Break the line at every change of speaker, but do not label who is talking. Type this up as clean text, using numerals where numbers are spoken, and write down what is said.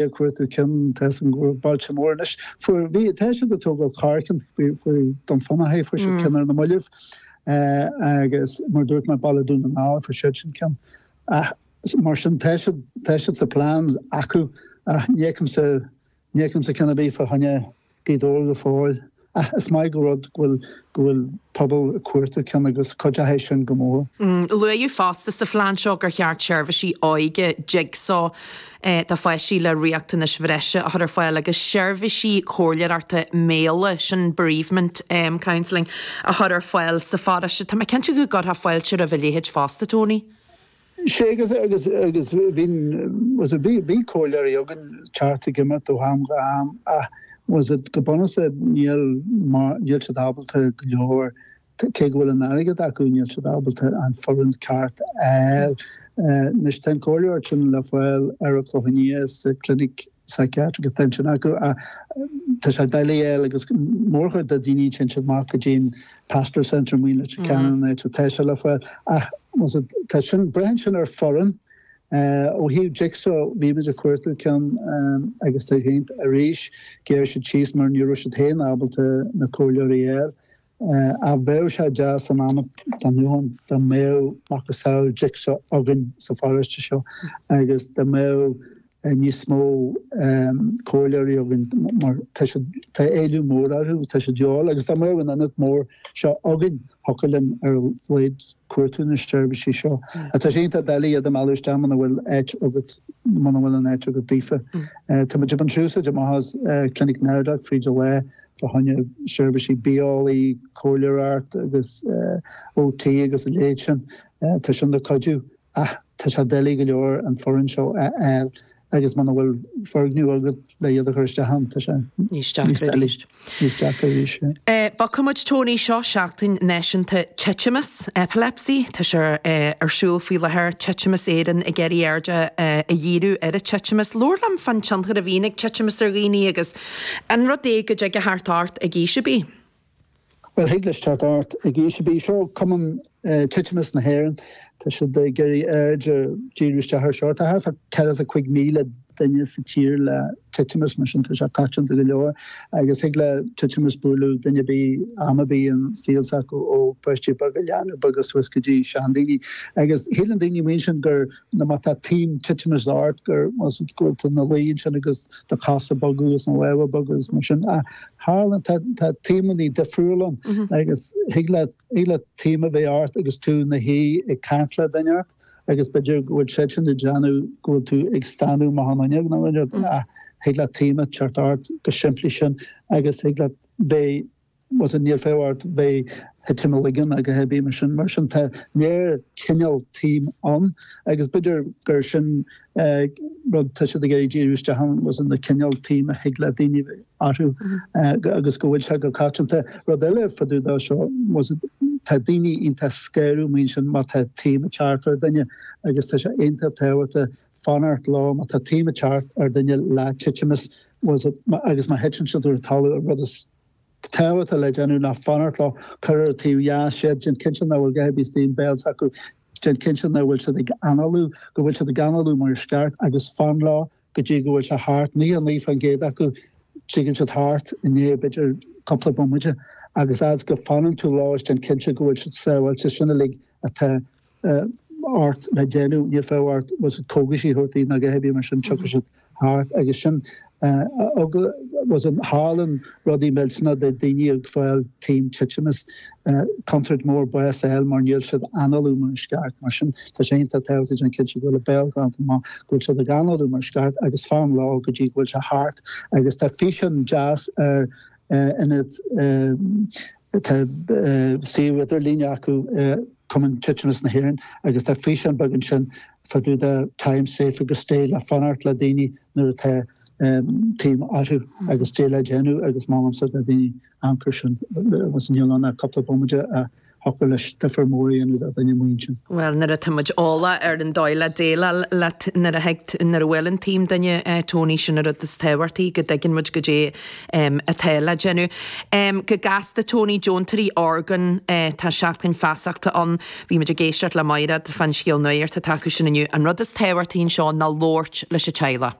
ag cuartú ceann, tá 'fhios agam go bhfuil bailte móra anois, fuair, bhí, tá siad ag tógáil ceathair cinn, fuair Dún Fionnachaidh, fuair siad ceann ar na mallaibh agus mar a dúirt mé Baile Dún na nGall, fuair siad sin ceann. Ach mar sin tá siad, tá siad sa plean acu ach ní fheicimse, ní fheicimse ceann ar bith fá choinne Gaoth Dobhair go fóill. Ach is maith go rud go bhfuil, go bhfuil pobal ag cuartú ceann agus cuideoidh sé sin go mór.
Luadh fosta sa phlean seo gur cheart seirbhísí óige Jigsaw do pháistí le riachtanais bhreise a chur ar fáil agus seirbhísí comhairleoireachta méala, sin bereavement counselling, a chur ar fáil sa pharóiste. Tá mé cinnte go gcuirfeá fáilte roimh a leithéid fosta, Tony.
Sea, agus, agus, agus bhí, was it, bhí, bhí comhairleoirí againn teacht ag imeacht ó am go ham ach was it, go bunúsach níl mar, níl siad ábalta go leor, cé go bhfuil an airgead acu, níl siad ábalta an foireann ceart a fháil. Anois tá an comhairleoir sin le fáil ar an Chlochán Liath sa clinic psychiatric atá ansin acu ach tá sé doiligh a fháil agus mórchuid de daoine téann siad amach go dtí an Pastoral Centre i Leitir Ceanainn an áit atá sé le fáil ach was it, tá sin, braitheann sin ar foireann. Ó thaobh Jigsaw bhí muid ag cuartú ceann agus tá siad arís ghéar siad síos mar ní raibh siad féin ábalta na comhairleoirí a fháil. Ach bheadh sé deas an am atá inniu ann dá mbeadh macasamhail Jigsaw againn sa pharóiste seo agus dá mbeadh níos mó comhairleoirí againn mar tá siad, tá éileamh mór orthu, tá siad de dhíobháil agus dá mbeadh an ionad mór seo againn thiocfadh linn ar a laghad cuartú na seirbhísí seo. Tá sé iontach doiligh iad a mhealladh isteach muna bhfuil áit agat, muna bhfuil an áit agat daofa. Tá muid ag baint úsáid amach as Clinic NARDAC fríd an lá fá choinne seirbhísí bitheolaí, comhairleoireacht agus OT agus a leithéid sin. Tá sin le cuidiú ach tá sé doiligh go leor an foireann seo a fháil agus muna bhfuil foirgneamh agat le iad a chur isteach ann, tá sé
níos deacra arís.
Níos deacra arís,
yeah. Bogfaidh muid Tony, seo Seachtain Náisiúnta Titimeas, Epilepsy. Tá sé ar siúl faoi láthair, Titimeas Éireann ag iarraidh aird a dhíriú ar an titimeas. Labhair liom fán tionchar a bhíonn ag titimeas ar dhaoine agus An rud é go dtig a theacht ort ag aois ar bith?
Bhuel, thig leis teacht ort ag aois ar bith. Seo Cumann Titimeas na hÉireann. Tá siad ag iarraidh aird a dhíriú isteach ar seo. Tá thart fá 45,000 duine sa tír le titimeas, mar sin tá sé coitianta go leor. Agus thig le titimeas bualadh duine ar bith, am ar bith an saol s'acu, ó pháistí beaga, leanbh beaga suas go dtí seandaoine. Agus shíleann daoine amuigh ansin gur nó má tá taom titimis ort gur go bhfuil tú ina luí ansin agus do chosa ag bogadh agus na lámha ag bogadh agus mar sin ach tharlaíonn tá tá taomannaí difriúil ann agus thig leat thig leat taom a bheith ort agus tú ina shuí ag caint le duine ort agus b'fhéidir go bhfuil siad sin ag déanamh go bhfuil tú ag stánadh amach an fhuinneog nó rud ach thig leat taom a teacht ort go simplí sin agus thig leat bheith was it níl fonn ort bheith thitim i ligean agus a bhí mar sin. Mar sin tá léir cineál taoim ann agus b'fhéidir gur sin rud tá siad ag iarraidh díriú isteach ann was it na cineál taoim a thig le daoine bheith orthu agus go bhfuil sé go coitianta. Rud eile fá dtaobh de seo was it tá daoine iontach scanrúil mar sin má tá taom ag teacht ar duine agus tá sé iontach tábhachtach fanacht leo má tá taom ag teacht ar duine le titimeas was it agus má thiteann siad ar an talamh an rud is tábhachtach le déanamh ná fanacht leo, cuir ar an taobh dheas iad, déan cinnte nach bhfuil a dhath ar bith istigh i mbéal s'acu, déan cinnte nach bhfuil siad ag análú, go bhfuil siad ag análú mar is ceart agus fan leo go dtí go bhfuil sé thart. 99% acu, tigeann siad thart i ndiaidh b'fhéidir cúpla bomaite agus fhad is go fanann tú leo is déan cinnte go bhfuil siad sábháilte, sin uilig atá ort le déanamh, níl fonn ort was it cógaisí a thabhairt daoibh ná a dhath ar bith mar sin, tiocfaidh siad thart agus sin was it tharlaíonn rudaí millteanna do daoine ag fáil taom titimeas, contúirt mór bás a fháil mar níl siad análú mar is ceart mar sin tá sé iontach tábhachtach déan cinnte go bhfuil a béal glanta amach, go bhfuil siad ag análú mar is ceart agus fan leo go dtí go bhfuil sé thart agus tá físeán deas ar ionad Tá suíomh idirlín acu, Cumann Titimeas na hÉireann, agus tá físeán beag ansin fá dtaobh de Time Safe agus Stay le fanacht le daoine nuair atá taom orthu agus caidé le déanamh agus molaimse do dhaoine amharc air sin agus níl ann ach cúpla bomaite a thiocfadh leis difear mór a dhéanamh do dhuine amuigh ansin.
Bhuel, nuair atá muid eolach ar an dóigh le déileáil le nuair a thig, nuair a bhuaileann taom duine, Tony, sin an rud is tábhachtaí, go dtuigeann muid goidé atá le déanamh. Go gasta, Tony, deontóirí orgán, tá seachtain feasachta ann. Bhí muid ag éisteacht le Mairéad fán scéal nuachta atá acu sin inniu. An rud is tábhachtaí anseo ná labhairt leis an teaghlach.